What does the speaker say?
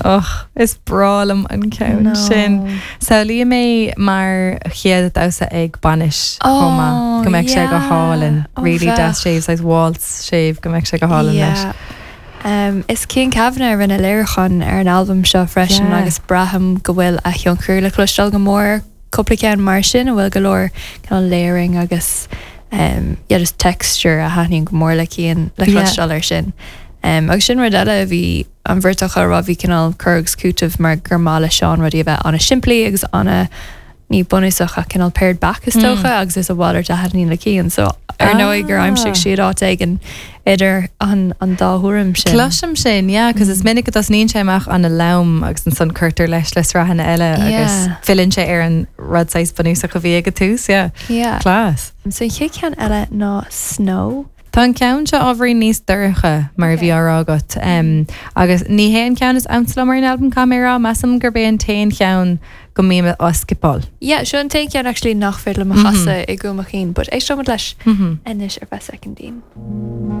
Och, is breá liom an ceann sin. Samhlaím é mar chéad damhsa ag bainis chomh maith, go mbeadh sé go hálainn. Really deas séimh, saghas waltz séimh, go mbeadh sé go hálainn leis. Is Cian Kavanagh a rinne léiriúchán ar an albam seo freisin agus braithim go bhfuil a thionchar le cloisteáil go mór ar cúpla ceann mar sin a bhfuil go leor cineál layering agus yeah just texture a thaitníonn go mór le Cian le cloisteáil air sin. Agus sin rud eile a bhí an bheirt acu a rá, bhí cineál cur agus cúiteamh mar gur maith le Seán rudaí a bheith an-simplí agus ana ní bunúsach ach cineál pared back is dócha agus is a mhalairt a thaitníonn le Cian so ar ndóigh gur aimsigh siad áit éigin idir an an dá thuairim sin. Cloisim sin, yeah, cos is minic go dtosnaíonn sé amach ana-lom agus ansan cuirtear leis le sraitheanna eile agus filleann sé ar an rud saghas bunúsach a bhí ag an tús, yeah. Yeah. Class. So an chéad cheann eile ná Snow. Tá an ceann seo ábhairín níos dorcha, mar a bhí á rá agat, agus ní hé an ceann is ansa liom ar an albam, caithfidh mé a rá. Measaim gurb é an t-aon cheann go mbím á scipeáil. Yeah, seo an t-aon cheann actually nach féidir liom a chasadh i gcúl mo chinn, but éisteoimid leis anois ar feadh soicindín.